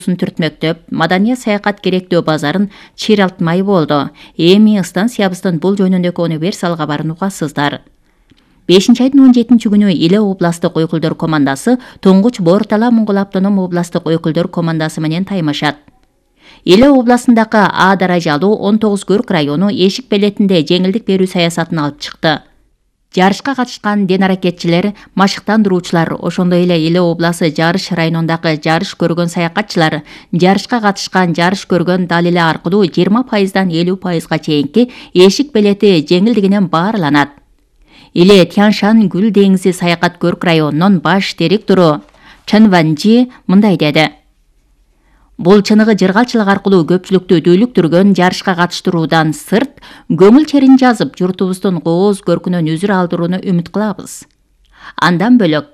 түртмөктөп, маданий саякат керектөө базарын чыйралтмай болду. Эми станциябыздын бул жөнүндөгү универсал кабарын угасыздар. 5-айдын 17-күнү Иле областтык өкүлдөр командасы Туңгуч Бортала Моңгол автоном областтык өкүлдөр командасы менен таймашат. Иле областындагы А даражалуу 19 Көрк району Эшик Белетинде жеңилдик берүү саясатын алып чыкты. Жарышка катышкан ден аракетчилер, машыктандыруучулар, ошондой эле Иле обласы Жарыш районундагы жарыш көргөн саякатчылар жарышка катышкан, жарыш көргөн далили аркылуу 20%дан 50%га чейинки Эшик Белети жеңилдигинен баарланат. Иле Тяншан Гүл деңизи саякат көрк районунун баш директору Чын Ванжи мындай деди. Бул чыныгы жыргалчылык аркылуу көпчүлүктү дүүлүктүргөн жарышка катыштыруудан сырт, көңүл черин жазып, журтубуздун кооз көркүнөн үзүр алдырууну үмүт кылабыз. Андан бөлөк,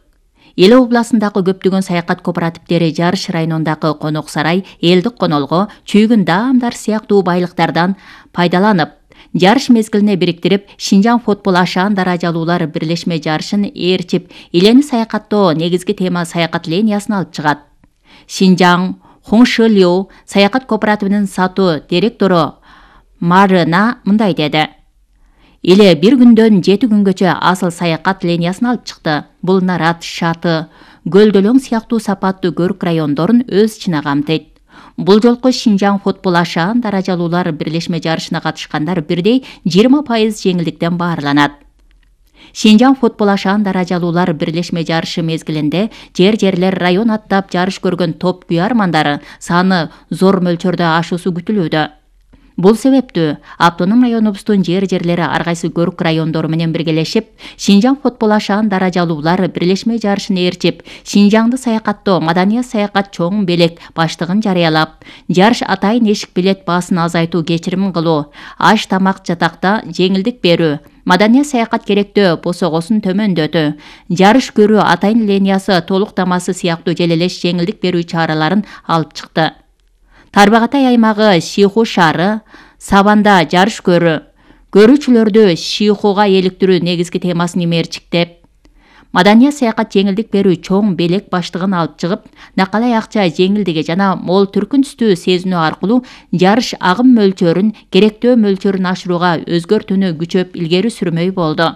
Иле областындагы көптөгөн саякат кооперативдери Жарыш районундагы Конок сарай, Элдик Конолго, Чүйгүн даамдар сыяктуу байлыктардан пайдаланып, жарыш мезгилине бириктирип, Шинжаң футбол ашаан даражалуулар бирлешме жарышын ээрчип, Илени саякаттоо негизги тема саякат линиясын алып чыгат. Шинжаң Хоңшылуу саякат кооперативинин сатуу директору Марына мындай деди. Иле бир күндөн 7 күнгөчө асыл саякат линиясын алып чыкты. Бул Нарат, Шаты, Гөлдөлөң сыяктуу сапаттуу көрк райондорун өз ичине камтыйт. Бул жолку Шинжаң футбол ашаан даражалуулар бирлешме жарышына катышкандар бирдей 20% жеңилдиктен баарланат. Шинжаң футбол ашаан даражалуулар бирлешме жарышы мезгилинде жерлер район аттап жарыш көргөн топ күйармандары саны зор мөлчөрдө ашуусу күтүлүүдө. Бул себептүү автоном районубуздун жерлери ар кайсы көрк райондору менен биргелешип, Шинжаң футбол ашаан даражалуулар бирлешме жарышын ээрчип, Шинжаңды саякаттоо маданий саякат чоң белек баштыгын жарыялап, жарыш атайын Эшик Белет баасын азайтуу кечирим кылуу, аш тамак жатакта жеңилдик берүү, маданий саякат керектөө босогосун төмөндөтүү, жарыш көрүү атайын линиясы толуктамасы сыяктуу желелеш жеңилдик берүү чараларын алып чыкты. Тарбагатай аймагы Шиху шаары, Сабанда жарыш көрүүчүлөрдү Шихуга эликтирүү негизги темасын имээрчиктеп, маданий саякат жеңилдик берүү чоң белек баштыгын алып чыгып, накалай акча жеңилдиги жана мол түркүн түстүү сезинүү аркылуу жарыш агым мөлчөрүн керектөө мөлчөрүн ашырууга өзгөртүүнү күчөп илгери сүрмөй болду.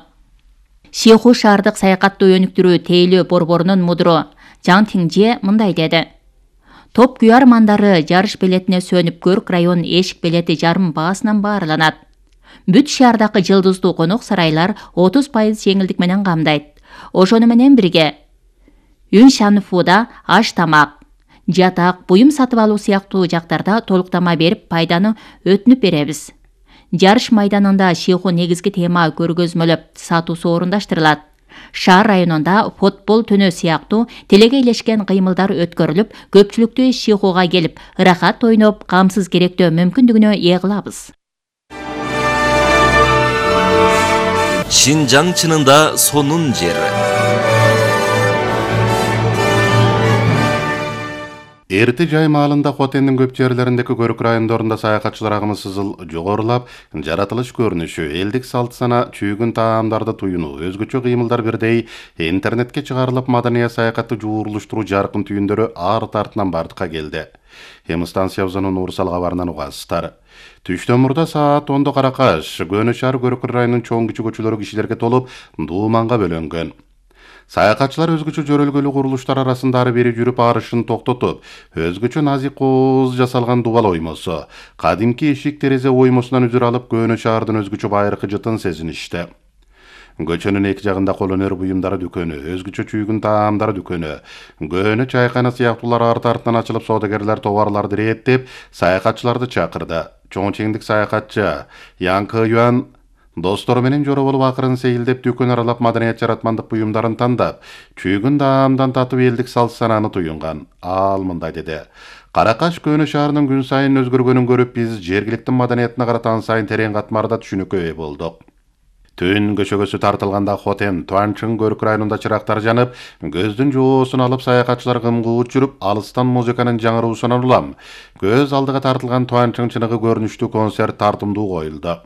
Шиху шаардык саякаттуу өнүктүрүү тейлөө борборунун мудуру Жаң Тиңже мындай деди. Топ күйармандары жарыш белетине сөнүп, көрк район Эшик Белети жарым баасынан баарланат. Бүт шаардагы жылдыздуу конок сарайлар 30% жеңилдик менен камдайт. Ошону менен бирге Үншанфуда аш тамак, жатак, буюм сатып алуу сыяктуу жактарда толуктама берип, пайданы өтүнүп беребиз. Жарыш майданында Шиху негизги тема көргөзмөлөп сатуусу орундаштырылат. Шаар районунда футбол түнү сыяктуу телегейлешкен кыймылдар өткөрүлүп, көпчүлүктү Шихуга келип, ырахат ойноп, камсыз керектөө мүмкүндүгүнө ээ кылабыз. Шинжаң чынында сонун жер. Эрти жай маалында Хотендин көп жерлериндеги көрк райондорунда саякатчылар агымы сызыл жогорулап, жаратылыш көрүнүшү, элдик салт сана, чүйгүн таамдарды туюнуу, өзгөчө кыймылдар бирдей интернетке чыгарылып, маданий саякатты жуурулуштуруу жаркын түйүндөрү арт артынан бардыкка келди. Эми станциябыздын Уурсал кабарынан угасыздар. Түштөн мурда саат 10 каракаш, Көнө шаар көрк районунун чоң кичи көчөлөрү кишилерге толуп, дууманга бөлөнгөн. Саякатчылар өзгөчө жөрөлгөлүү курулуштар арасында ары бери жүрүп арышын токтотуп, өзгөчө назик кооз жасалган дубал оймосу, кадимки эшик терезе оймосунан үзүр алып, Көнө шаардын өзгөчө байыркы жытын сезиништи. Көчөнүн эки жагында кол өнөр буюмдары дүкөнү, өзгөчө чүйгүн таамдар дүкөнү, Көнө чайкана сыяктуулар арт-артынан ачылып, соодагерлер товарларды иреттеп, саякатчыларды чакырды. Чоң чеңдик саякатчы Янкы Юан достору менен жора болуп акырын сейилдеп дүкөн аралап маданият жаратмандык буюмдарын тандап, чүйгүн даамдан татып элдик салт санааны туюнган. Ал мындай деди. Каракаш Көнө шаарынын күн сайын өзгөргөнүн көрүп, биз жергиликтин маданиятына карата сайын терең катмарда түшүнүккө ээ болдук. Түн көчөгөсү тартылганда Хотен, Туанчын көрк районунда чырактар жанып, көздүн жоосун алып, саякатчылар кымгуут жүрүп, алыстан музыканын жаңыруусунан улам, көз алдыга тартылган Туанчын чыныгы көрүнүштүү концерт тартымдуу коюлду.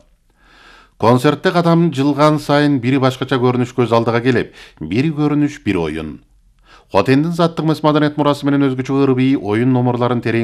Концертте кадам жылган сайын бири башкача көрүнүш көз алдыга келип, бири көрүнүш бир оюн. Хотендин заттык маданият мурасы менен өзгөчө ырбий оюн номерларын терең